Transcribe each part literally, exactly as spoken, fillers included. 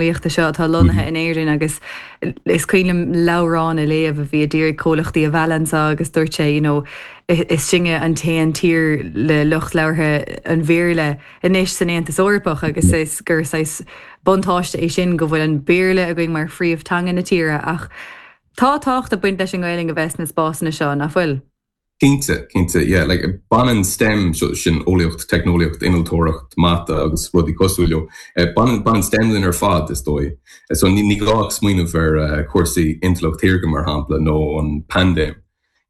teicneolaíochta seo atá lonnaithe in Éirinn agus is cuimhin liom leabhrán a léamh a bhí ag iarraidh comhlachtaí a mhealladh anseo agus dúirt sé you know, is sinne an t-aon tír le lucht labhartha an Bhéarla anois san Aontas Eorpach agus is gur saghas buntáiste é sin go bhfuil an Béarla againn mar phríomhtheanga na tíre ach tá tábhacht ag baint leis an nGaeilge a bheith sna spásanna seo nach bhfuil. Cinnte cinnte yeah, like, baineann STEM so, sin eolaíocht, teicneolaíocht, innealtóireacht, mata agus rudaí cosúil leo. Eh, baineann baineann STEM linn ar fad is dóigh. Eh, so ní ní gá smaoineamh ar uh, cúrsaí intleacht shaorga mar shampla nó an paindéim.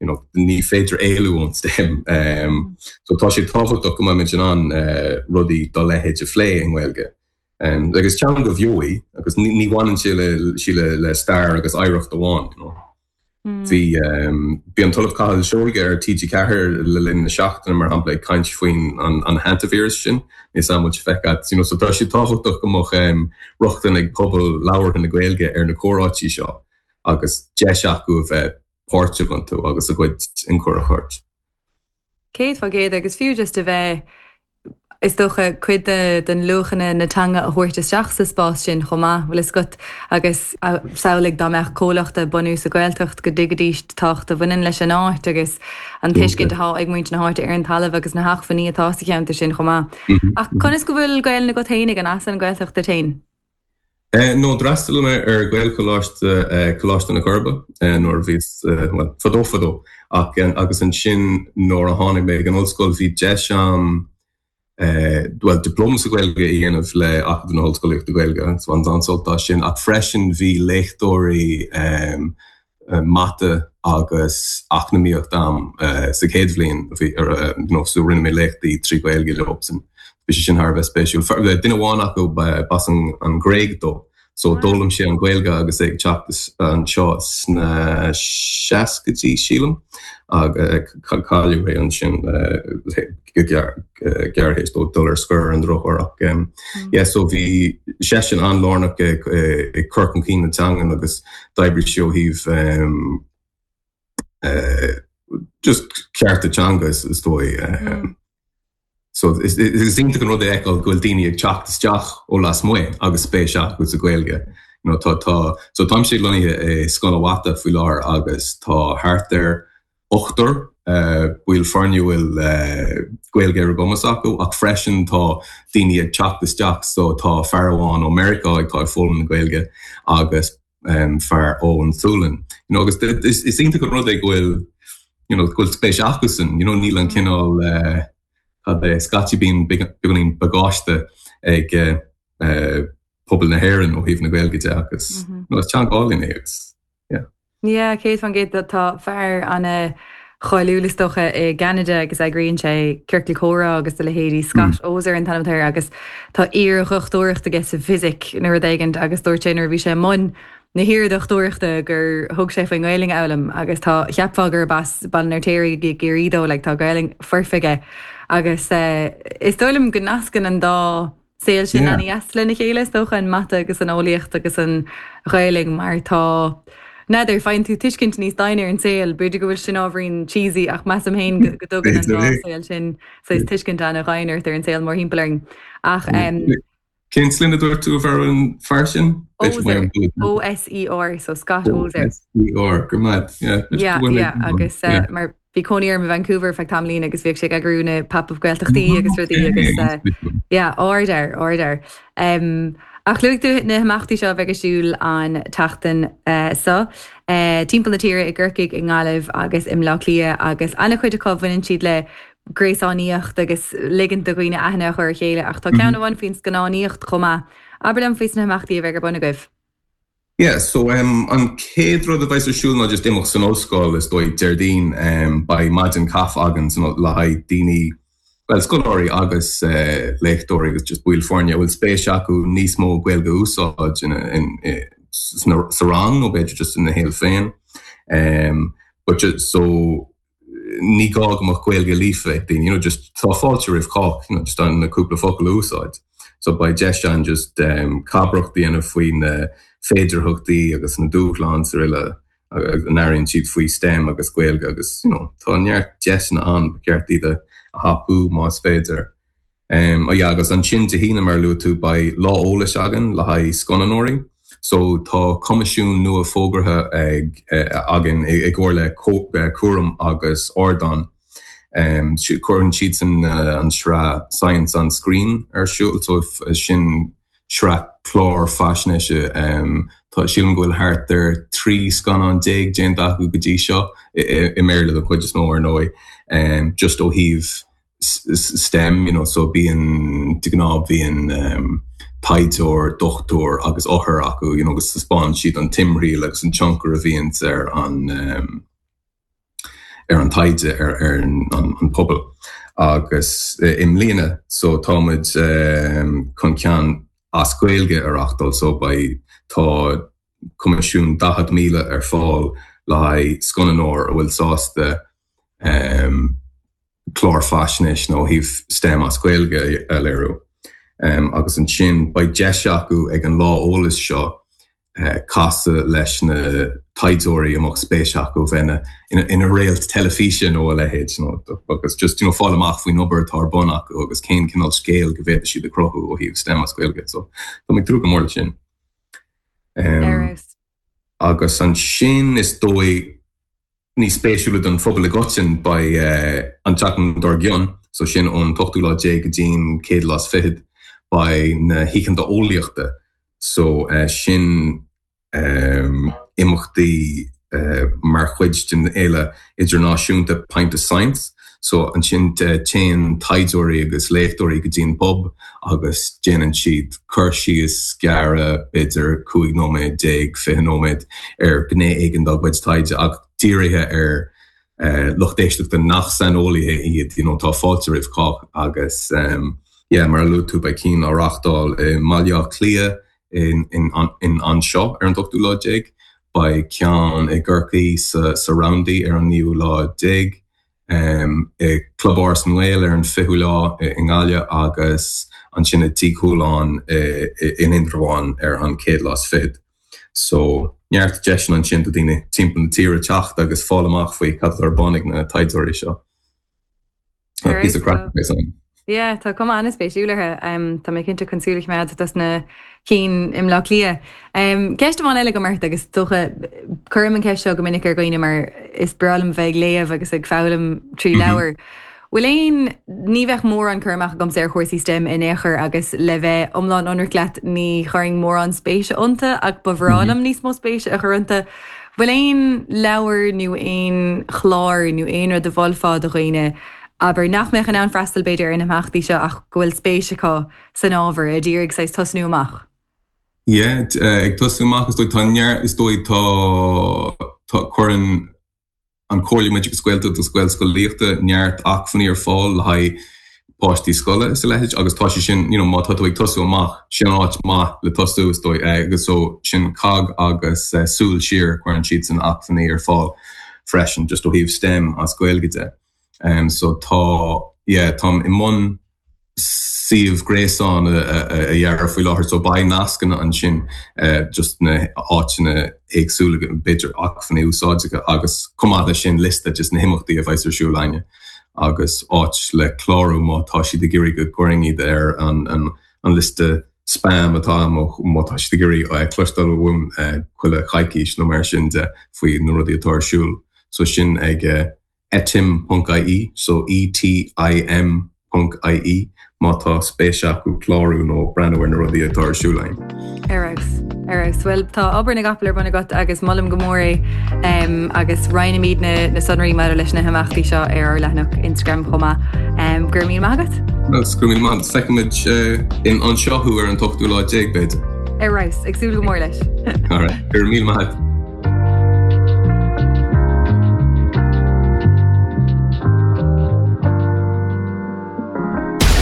You know, ní féidir éalú ón STEM. Um, so tá sé tábhachtach go mbeimid in ann uh, rudaí dá leithéid a phlé i nGaeilge. Um, agus teanga bheo í agus ní, ní bhaineann sé le, sí le, le stair agus oidhreacht amháin. You know. Bhí um, bhí an tOllamh Cathal Seoige ar TG Ceathair le linn na seachtaine mar shampla ag caint faoin an, an hantavirus sin is an muid feicad you know, so tá sé tábhachtach go mbeadh um, rochtain ag pobal labhartha na Gaeilge ar na comhráití seo agus deis acu a bheith páirteach iontu agus a gcuid ionchur a thabhairt. Céad faoin gcéad agus fiú just a bheith is dócha cuid de den luachanna na teanga a thabhairt isteach sa spás sin chomh maith bhfuil fhios agat agus samhlaigh dá mbeadh comhlacht ag bunú sa Ghaeltacht go dtuigfidís tábhacht a bhaineann leis an áit agus an tuiscint atá ag muintir na háite ar an talamh agus na hacmhainní atá sa cheantar sin chomh maith. Ach conas go bhfuil Gaeilge agat féin ag an as an Ghaeltacht duit féin? Uh, no d'fhreastail mé ar Ghaelcholáiste uh, Coláiste na Coiribe uh, nuair bhí uh, fadó fadó ach agus ansin nuair a tháinig mé ag an ollscoil bhí deis agam Uh, well diploma sa Ghaeilge a dhéanamh le Acadamh na hOllscolaíochta Gaeilge so an an sin ach freisin bhí léachtóirí um, uh, mata agus eacnamaíocht agam uh, sa chéad bhliain bhí uh, no, so rinne mé léachtaí trí Ghaeilge leosan. Bhí sé sin thar bheith spéisiúil. Duine amháin acu b'as an, an Ghréig dó. So d'fhoghlaim sé an Ghaeilge agus é ag teacht anseo sna seascaidí sílim agus cailleadh é ansin go gearr théis dó dul ar scor an drochuair ach yeah, so bhí seisean an-lárnach ag cur chun cinn na teanga agus d'oibrigh sé ó thaobh um, uh, just cearta teanga is, is dóigh. Um, So is is iontach an rud é go bhfuil daoine ag teacht isteach ó lasmuigh agus spéis acu sa Ghaeilge. You know, tá tá so táimse lonnaithe i Scoil an Mhata faoi láthair agus tá thart ar ochtar uh, bhfuil foirne bhfuil uh, Gaeilge ar a gcumas acu ach freisin tá daoine ag teacht isteach so tá fear amháin ó Meiriceá ag tá foghlaim na Gaeilge agus um, fear ón Sualainn. You know, agus is, is iontach an rud é go bhfuil you know, go bhfuil spéis acusan, you know, níl an cineál uh, cad é scaití bíonn beagáinín bagáiste ag uh, uh, pobal na hÉireann ó thaobh na Gaeilge de agus mm -hmm. is teanga álainn é agus yeah. Yeah, céad faoin gcéad tá fear an-cháiliúil is dócha i gCeanada agus eagraíonn sé ciorcal comhrá agus a leithéidí Scott mm. Oser an t-ainm air agus tá iardhochtúireacht aige sa fisic nó rud éigin agus dúirt sé nuair bhí sé mbun na hiardhochtúireachta gur thug sé faoin nGaeilge a fhoghlaim agus tá cheapfá gur as Baile an Fheirtéaraigh i gCiarraí dó le tá Gaeilge foirfe aige agus uh, is dóigh liom go nascann an dá saol sin yeah. an-deas lena chéile is dócha an mata agus an eolaíocht agus an Ghaeilge mar tá N'fheadar faigheann tú tuiscint níos doimhne ar an saol, b'fhéidir go bhfuil sin ábhairín cheesy ach measaim féin go dtugann an dá saol sin so tuiscint an-doimhin ar an saol mórthimpeall orainn ach um, Cén sloinne a dúirt tú ar an fear sin? OSER so Scott Oser. OSER go maith yeah, yeah, agus uh, mar bhí cónaí air i Vancouver feadh tamaillín agus bhíodh sé ag eagrú na pop-up Gaeltachtaí agus rudaí agus uh, yeah, order order. Um, ach luaigh tú na himeachtaí seo bheidh ar siúl an tseachtain uh, seo. Uh, timpeall na tíre i gCorcaigh i nGaillimh agus i mBleá Cliath agus an-chuid acu bhaineann siad le gréasánaíocht agus ligean do dhaoine aithne a chur ar chéile ach tá ceann amháin faoin scannánaíocht chomh maith. Abair liom faoi na himeachtaí a bheidh ar bun agaibh. Yeah, so um, an chéad rud a bheidh ar siúl ná just imeacht san ollscoil is dóigh Déardaoin um, beidh maidin caife againn san le haghaidh daoine well scoláirí agus uh, léachtóirí agus just baill foirne bhfuil spéis acu níos mó Gaeilge a úsáid in, in, in, sa rang nó b'fhéidir just ina shaol féin. Um, but just, so ní gá go mbeadh Gaeilge líofa ag daoine, you know, just tá fáilte roimh chách, you know, just an na cúpla focal a úsáid. So beidh deis ann just um, cabaireacht a dhéanamh faoi na féidearthachtaí agus na dúshláin sa uile a n-airíonn siad faoi STEM agus Gaeilge agus you know, tá neart deiseanna ann ba cheart iad a thapú más féidir. Um, oh yeah, agus ansin Dé hAoine mar a luaigh tú beidh lá eolais againn le haghaidh scannánóirí. So tá coimisiún nua fógartha ag uh, againn i gcomhar le eh, Cúram agus Ardán. Um, cuireann siad san uh, an sraith Science on Screen ar siúl so sin sraith clár faisnéise um, tá sílim go bhfuil thart ar trí scannán déag déanta acu go dtí seo i mBéarla den chuid is mó ar ndóigh um, just ó thaobh STEM you know, so bíonn de ghnáth bíonn um, taighdeoir, dochtúir agus othar acu you know, agus taispeánann siad an timthriall agus an tionchar a bhíonn ar an um, ar an taighde ar, ar an, an, an pobal. Agus uh, i mbliana so táimid um, chun ceann as Gaeilge a reáchtáil so beidh tá coimisiún daichead míle ar fáil le haghaidh scannánóir a bhfuil sásta um, clár faisnéis nó ó thaobh STEM as Gaeilge a léiriú. Um, agus ansin beidh deis acu ag an lá eolais seo uh, casadh leis na taighdeoirí a mbeadh spéis acu bheith ina, ina réalt teilifíse nó a leithéid nó agus just you know, fáil amach faoin obair atá ar bun acu agus cén cineál scéal go bhféadfadh siad a chruthú ó thaobh STEM as Gaeilge so Tá mé ag tnúth go mór leis sin. Um, agus ansin is dóigh níos spéisiúla don phobal i gcoitinne beidh uh, an tseachtain dár gcionn, so sin ón ochtú lá déag go dtí'n céad lá is fichead beidh na hoícheanta eolaíochta so uh, sin um, imeachtaí uh, mar chuid den fhéile idirnáisiúnta Pint of Science. So ansin téann taighdeoirí agus léachtóirí go dtí'n pub agus déanann siad cur síos gearr b'fhéidir cúig nóiméad déag fiche nóiméad ar ghné éigin dá gcuid taighde ach dírithe ar uh, lucht éisteachta nach saineolaithe iad you know, tá fáilte roimh chách agus um, yeah, mar a luaigh tú beidh ceann á reáchtáil i mBaile Átha Cliath in, in, in anseo ar an ochtú lá déag, beidh ceann i gCorcaigh sa, sa Roundy ar an naoú lá déag, um, i Club Áras na nGael ar an fichiú lá i nGaillimh agus ansin i Tigh Chualáin in Indreabhán ar an céad lá is fichead. So neart deiseanna ansin do daoine timpeall na tíre teacht agus fáil amach faoi cad atá ar bun ag na taighdeoirí seo. Píosa craic Yeah, tá cuma an-spéisiúil orthu um, Tá mé cinnte chun súil a choimeád dos na cinn i mBleá Cliath. Um, Ceist amháin eile agam ort agus dócha cuirim an ceist seo go minic ar dhaoine mar is breá liom bheith ag léamh agus ag foghlaim trí mhm. leabhar. Bhfuil aon ní bheadh mórán cur amach agamsa ar chúrsaí STEM in aon chor agus le bheith iomlán ionraic leat ní chuirfinn mórán spéise iontu ach ba bhreá liom mhm. níos mó spéise a chur iontu. Bhfuil aon leabhar nó aon chlár nó aon rud a mholfá do dhaoine aber nach mbeadh in ann freastal b'fhéidir ar na himeachtaí seo ach go bhfuil spéis acu san ábhar a d'iarraidh saghas tosnú amach. Yeah, eh, ag tosnú amach is dóigh tá neart is dóigh tá tá cuireann an Chomhairle um Oideachas Gaeltachta agus Gaelscolaíochta neart acmhainní ar fáil le haghaidh páistí scoile is a leithéid agus tá sé sin you know, má tá tú ag tosú amach sin áit maith le tosú is dóigh eh, agus so sin COGG agus uh, Súil Siar cuireann siad san acmhainní ar fáil freisin just ó thaobh STEM as Gaeilge de. Um, so tá yeah, táim i mbun suíomh gréasáin a, a, a dhearadh faoi láthair so beidh nascanna ansin uh, just na háiteanna éagsúla b'fhéidir acmhainní úsáideacha agus chomh maith leis sin liosta just na himeachtaí a bheas ar siúl againne agus áit le clárú má tá siad ag iarraidh go gcuirfinn iad ar an, an, an liosta spam atá má tá siad ag iarraidh uh, cloisteáil uaim uh, chuile choicís nó mar sin de faoi na rudaí atá ar siúl so sin ag uh, etim.ie so ETIM.ie má tá spéis acu clárú nó breathnú ar na rudaí atá ar siúl againn. Ar ar Well tá obair na gcapall ar bun agat agus molaim go mór é um, agus roinnfimid na, na sonraí maidir leis na himeachtaí seo ar ár leathanach Instagram chomh maith. Um, Gur mí agat? Well, go raibh míle maith feicfimid uh, in anseo thú ar an ochtú lá déag b'fhéidir. Ar ris ag súil go mór leis. Go raibh míle maith.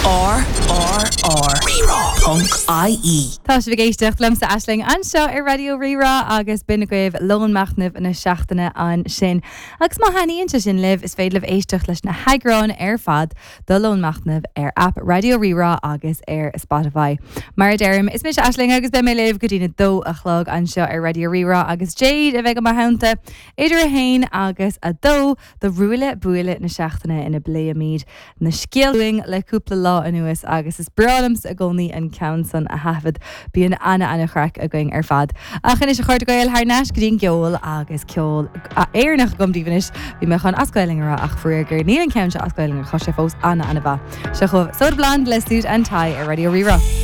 R R R. Rí-Rá. ponc IE. Tá sibh ag éisteacht liomsa Aisling anseo ar Raidió Rí-Rá agus b'in agaibh lón machnaimh na seachtaine ansin. Agus má thaitníonn sé sin libh is féidir libh éisteacht leis na heagráin ar fad de lón machnaimh ar app Raidió Rí-Rá agus ar Spotify. Mar a deirim is mise Aisling agus beidh mé libh go dtí a dó a chlog anseo ar Raidió Rí-Rá agus Jade a bheidh i mo theannta idir a haon agus a dó do ruaille buaille na seachtaine ina bpléimid na scéalta le cúpla lá anuas agus is breá liomsa i gcónaí an ceann san a thaifead bíonn ana ana-chraic againn ar fad. Ach anois a chairde Gael thar n-ais go dtí an gceol agus ceol Éireannach agam daoibh anois bhí mé chun as Gaeilge a rá ach faraor géar níl an ceann seo as Gaeilge tá sé fós ana ana-mhaith. Seo chugaibh Soda Blonde le Suit and Tie ar Raidió Rí-Rá.